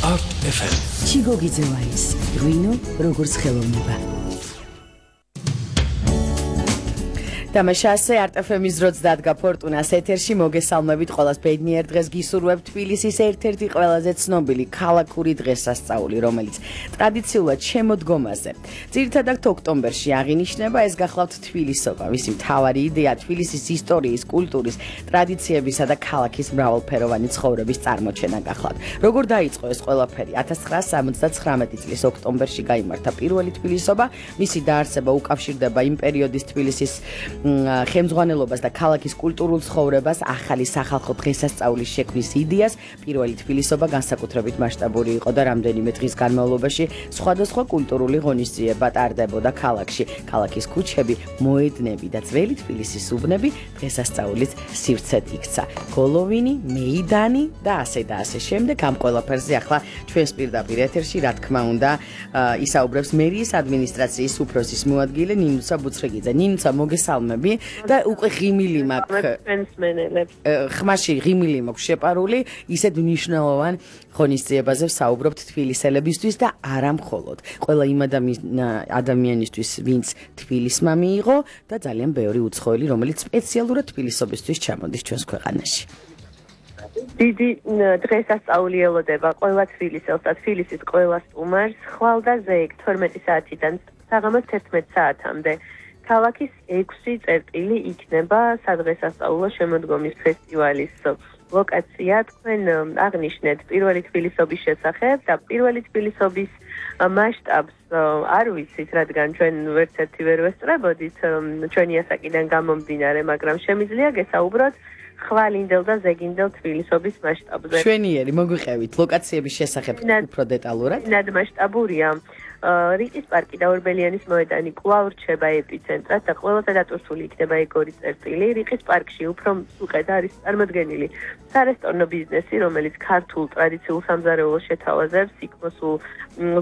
Art FM. ჩიგოგიძევაის რუინო როგორც ხელოვნება. Დამაშასე არტ-FM-ის დროც დადგა ფორტუნას ეთერში მოგესალმებით ყველას ბედნიერ დღეს გისურვებთ თბილისის ერთ-ერთი ყველაზე ცნობილი ქალაქური დღესასწაული, რომელიც ტრადიციულად შემოდგომაზე. ძირითადად ოქტომბერში აღინიშნება, ეს გახლავთ თბილისობა. მისი მთავარი იდეა თბილისის ისტორიის, კულტურის, ტრადიციებისა და ქალაქის მრავალფეროვანი ცხოვრების წარმოჩენა გახლავთ. Როგორ დაიწყო ეს ყველაფერი? 1979 წლის ოქტომბერში გაიმართა პირველი თბილისობა, მისი დაარსება უკავშირდება იმ პერიოდის თბილისის ხელმძღვანელობას და ქალაქის კულტურულ ცხოვრებას, ახალი სახალხო დღესასწაულის შექმნის იდეას. პირველი თბილისობა განსაკუთრებით მასშტაბური იყო და რამდენიმე დღის განმავლობაში სხვადასხვა კულტურული ღონისძიება ტარდებოდა ქალაქში. ქალაქის ქუჩები, მოედნები და ძველი თბილისის უბნები დღესასწაულის სივრცედ იქცა. გოლოვინი, მეიდანი და ასე და ასე შემდეგ. ამ ყველაფერზე ახლა ჩვენს პირდაპირ ეთერში, რა თქმა უნდა, ისაუბრებს მერიის ადმინისტრაციის უფროსის მოადგილე ნინუცა ბუცრეგიძე. ნინუცა, მოგესალმებით. და უკვე ღიმილი მაქვს ხმაში ღიმილი მაქვს შეპარული ისეთ მნიშვნელოვან ღონისძიებაზე ვსაუბრობთ თბილისელებისთვის და არა მხოლოდ ყველა იმ ადამიანისთვის ვინც თბილისმა მიიღო და ძალიან ბევრი უცხოელი რომელიც სპეციალურად თბილისობისთვის ჩამოდის ჩვენს ქვეყანაში. დიდი დღესასწაული ელოდება ყველა თბილისელს და თბილისის ყველა სტუმარს ხვალ და ზეიქ 12 საათიდან საღამოს 11 საათამდე. ქალაქის 6 წერტილი იქნება სადღესასწაულო შემოდგომის ფესტივალის ლოკაცია. თქვენ აღნიშნეთ პირველი თბილისობის შესახებ და პირველი თბილისობის მასშტაბს არ ვიცით, რადგან ჩვენ ვერცერთი ვერ ვესწრებოდით ჩვენი ასაკიდან გამომდინარე, მაგრამ შემიძლია გესაუბროთ ხვალინდელ და ზეგინდელ თბილისობის მასშტაბზე. შვენიერი, მოგვიყევით ლოკაციების შესახებ უფრო დეტალურად. ნად მასშტაბურია. რიყის პარკი და ორბელიანის მოედანი კვლავ რჩება ეპიცენტრად და ყველაზე დატვირთული იქნება ეგორი წერტილი. რიყის პარკში უფრო უკეთ არის წარმოდგენილი სარესტორნო ბიზნესი, რომელიც ქართულ ტრადიციულ სამზარეულოს შეთავაზებს, იქ მოსულ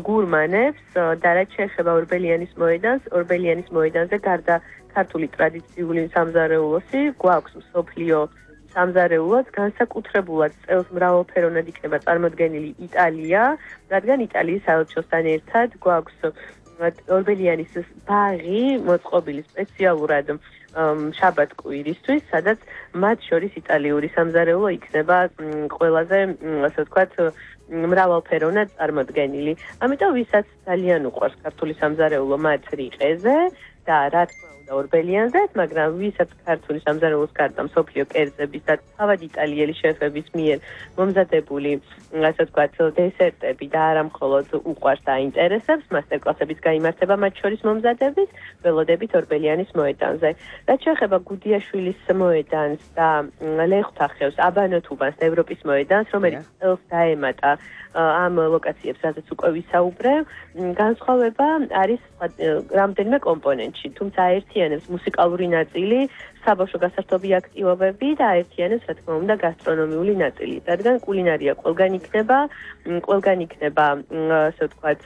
გურმანებს და რაც შეეხება ორბელიანის მოედანს, ორბელიანის მოედანზე გარდა ქართული ტრადიციული სამზარეულოსი გვაქვს მსოფლიო სამზარეულოს განსაკუთრებულად წელს მრავალფეროვნად იქნება წარმოდგენილი იტალია, რადგან იტალიის საელჩოსთან ერთად გვაქვს ორბელიანის ბაღი მოწყობილი სპეციალურად შაბათ-კვირისთვის, სადაც მათ შორის იტალიური სამზარეულო იქნება ყველაზე, ასე ვთქვათ, მრავალფეროვნად წარმოდგენილი. ამიტომ ვისაც ძალიან უყვარს ქართული სამზარეულო მათ რიყეზე და რა თქმა უნდა ორბელიანზე, მაგრამ ვისაც ქართული სამზარეულოს გარდა მსოფლიო კერძების და თავად იტალიელი შეფების მიერ მომზადებული, ასე ვთქვათ, დესერტები და არა მხოლოდ უყვარს და აინტერესებს, მასტერკლასებიც გაიმართება მათ შორის მომზადების, ველოდებით ორბელიანის მოედანზე. რაც შეეხება გუდიაშვილის მოედანს და ლეხთახევს, აბანოთუბანს და ევროპის მოედანს, რომელიც წელს დაემატა ამ ლოკაციებს, სადაც უკვე ვისაუბრებ, განსხვავება არის რამდენიმე კომპონენტში, თუმცა აერთიანებს მუსიკალური ნაწილი, საბავშვო გასართობი აქტივობები და აერთიანებს, რა თქმა უნდა, გასტრონომიული ნაწილი, რადგან კულინარია ყველგან იქნება, ასე ვთქვათ,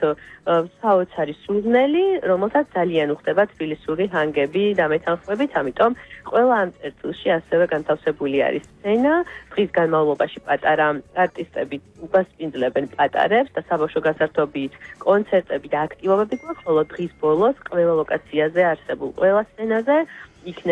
საოცარი სულნელი, რომელსაც ძალიან უხდება თბილისური ჰანგები და მეთანხმებით, ამიტომ ყველა ამ წერტილში ასევე განთავსებული არის სცენა, დღის განმავლობაში პატარა არტისტები უპასპინძლებენ პატარებს და საბავშვო გასართობი კონცერტები და აქტივობები გვაქვს, ხოლო დღის ბოლოს ყველა ლოკაციაზე არსებულ ყველა სცენაზე იქნება